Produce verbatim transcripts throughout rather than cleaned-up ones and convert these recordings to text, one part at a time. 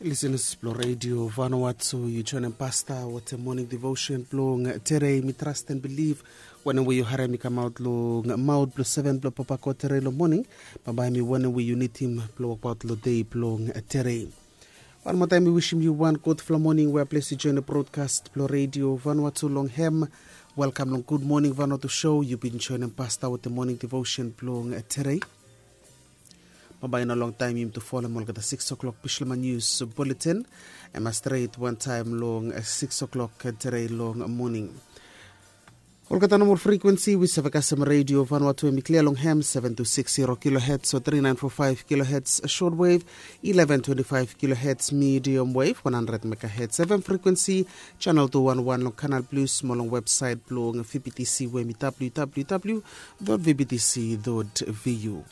Lisenas blong redio Vanuatu, yu joinim pasta wetem moning devotion blong tere. Mi trast en bilif wanem we yu harim i kamaot long maot blong seven blong papa god tere long moning, bambae mi wanem we yu nidim blong wokbaot long dei blong tere. Wan moa taem mi wisim yu wan gudfala moning we a ples yu joinim brodkast blong redio Vanuatu long hem. Welkam long gud moning Vanuatu show. Yu bin joinim pasta wetem moning devotion blong tere. Bambae i no longtaem yumi tu folem olgeta six o'clock Bislama News Bulletin. Em a stret wantaem long six o'clock tere long moning. Olgeta nomol frekuensi we yu save kasem redio Vanuatu, em i klia long hem, seven two six zero kilohertz o three nine four five kilohertz shortwave, eleven twenty-five kilohertz medium wave, one hundred megahertz F M frekuensi, channel two one one long Canal Plus, mo long websaet blong V B T C we em i W W W dot V B T C dot V U.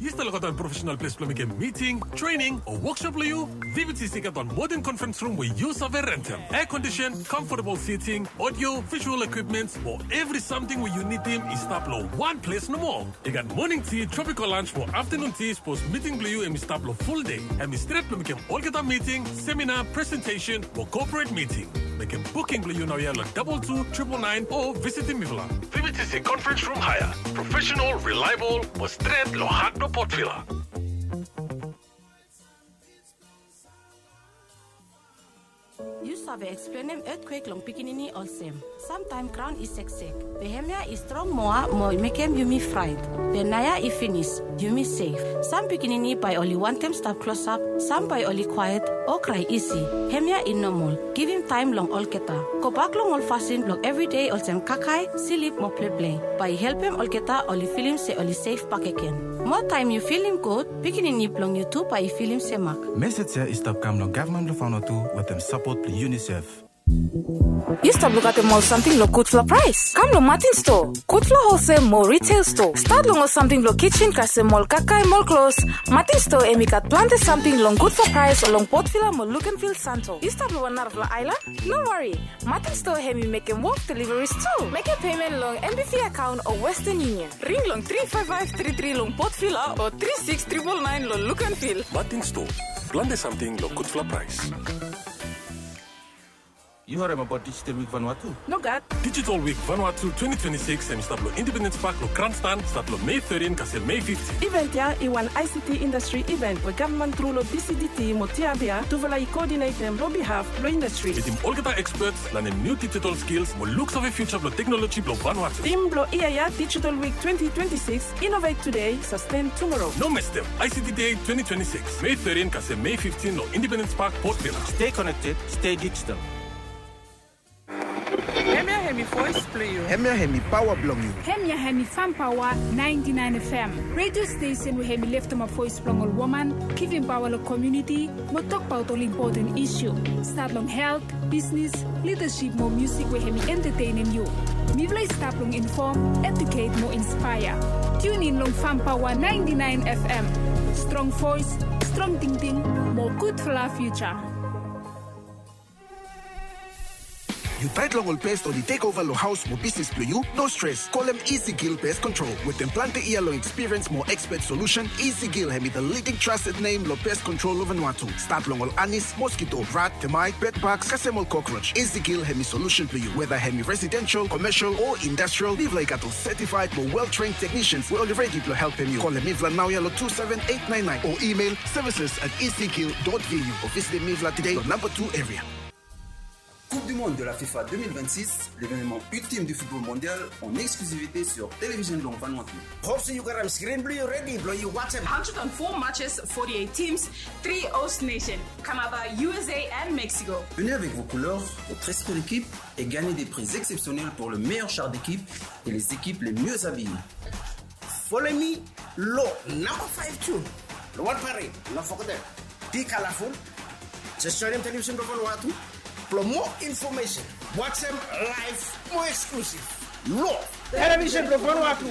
Yu stap lukautim wan profesenal ples blong mekem miting, trening o woksop blong yu? V B T C i gat wan moden conference room we yu save rentem. Air condition, comfortable seating, audio, visual equipments, mo evri samting we yu nidim i stap long wan ples nomo. I gat moning ti, tropical lunch mo aftanun ti, sapos miting blong yu em i stap long ful dei. Hem i stret blong mekem olgeta miting, seminar, presentation mo corporate miting. Mekem buking blong yu naoia long double two triple nine o visitim mifala. V B T C conference room hire. Professional, reliable, mo stret long hat blong Port Vila. Yu save eksplenem etkwek long pikinini olsem, samtaem graon i seksek, be hemia i strong moa mo i mekem yumi fraet. Be naoia i finis, yumi sef. Sam pikinini bae oli wantem stap klosap, sam bae oli kwaet o krae isi. Hemia i nomol. Givim taem long olgeta. Gobak long ol fasin blong evridei olsem kakae, slip mo pleple. Bae i helpem olgeta oli filim se oli sef bakegen. Moa taem yu filim gud, pikinini blong yu tu bae i filim semak. Mesej ya i stap kam long gavman blong Vanuatu wetem sapot blong UNICEF. Yu stap lukaotem ol samting long gudfala praes? Kam long Martin Store. Gudfala holsel mo retail store. Stat long ol samting blong kitchen kasem ol kakae mo ol klos. Martin Store hem i gat plante samting long gudfala praes long Port Vila mo look and feel santo. Yu stap long wan narafala aelan? No wari. Martin Store hem i mekem wok deliveries tu. Mekem payment long NBV account o Western Union. Ring long three five five three three long Port Vila o three six triple nine long look and feel. Martin Store. Plante samting long gudfala praes. Yu harem abaot Digital Week Vanuatu? Nogat. Digital Week Vanuatu twenty twenty-six hem i stap long Independence Park long Grandstand, stat long Mei thirteen kasem Mei fifteen. Event ya i wan ICT industry event we gavman tru long DCDT mo TIAB tufala i koodinetem long bihaf blong indastri. Mitim olgeta experts, lanem niu digital skills mo luksave future blong teknoloji blong Vanuatu. Tim blong yia ya, Digital Week twenty twenty-six, innovate today, sustain tomorrow. No mestem, ICT Day twenty twenty-six, Mei thirteen kasem Mei fifteen long Independence Park, Port Vila. Stay connected, stay digital. Hemia hemi voes blong yu. Hemia hemi paoa blong yu. Hemia hemi Farm Power ninety-nine FM, redio stesen we hemi leftemap voes blong ol woman, givim paoa long komuniti, mo tokbaot ol impoten isu. Stat long helt, bisnis, lidasip mo musik we hemi entatenem yu. Mifala i stap long infom, eduket mo inspaea. Tiun in long Farm Power ninety-nine FM. Strong voes, strong tingting, mo gudfala fiuja. Yu taet long ol pes oli tekova long haos mo bisnis blong yu? No stres. Kolem Easy Kill Pest Control. Wetem plante yia long ekspiriens mo ekspet solusen, Easy Kill hemi the leading trusted name long pest control long Vanuatu. Stat long ol anis, moskito, rat, temait, bedbugs kasem ol cockroach. Easy Kill hemi solusen blong yu. Weda hemi residensel, komesel o indastral, mifala i gat ol setifaed mo well-trained technicians we oli redi blong helpem yu. Kolem mifala naoia long two seven eight nine nine o email services at easy kill dot V U o visitem mifala tede long namba two area. Coupe du Monde de la FIFA deux mille vingt-six, l'événement ultime du football mondial en exclusivité sur Télévision Long Vanuatu. Hope se yu karem screen blong yu redi blong yu wajem. Hundred and four matches, forty-eight teams, three host nation, Canada, U S A and Mexico. Venez avec vos couleurs, votre esprit d'équipe et gagnez des prises exceptionnelles pour le meilleur char d'équipe et les équipes les mieux habillées. Folem mi long namba five tu long wan parade, no fogetem. Be colorful. Just joinem Television blong Vanuatu blong moa infomesen. Wajem laev mo eksklusiv long Television blong Vanuatu.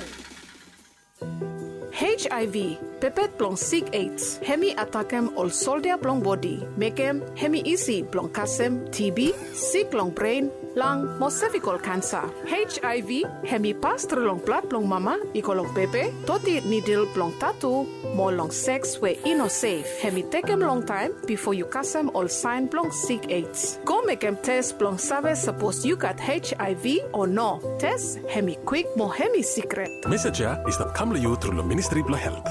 Hei H I V, pepet blong sik AIDS, hemi atakem ol soldia blong bodi, mekem hemi isi blong kasem T B, sik long bren, lang mo sevikol kansa. H I V hemi pas tru long blad blong mama i go long pepe, doti nidil blong tatu, mo long seks we i no sef. Hemi tekem longtaem bifo yu kasem ol saen blong sik AIDS. Go mekem tes blong save sapos yu gat H I V o no. Tes hemi kwik mo hemi sikret. Mesej ya i stap kam long yu tru long Ministri blong Helt.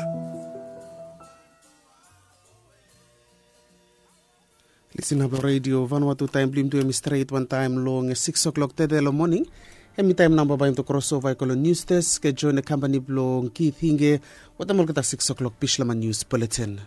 Lisin ap long redio Vanuatu, taem blong yumi tu hemi stret wantaem long siks o'klok tede long moning. Hemi taem nao bae yumi tu krosova i go long nius desk, joen long kampani blong Kith Hinge wetem olgeta siks o'klok Bislama Nius Buletin.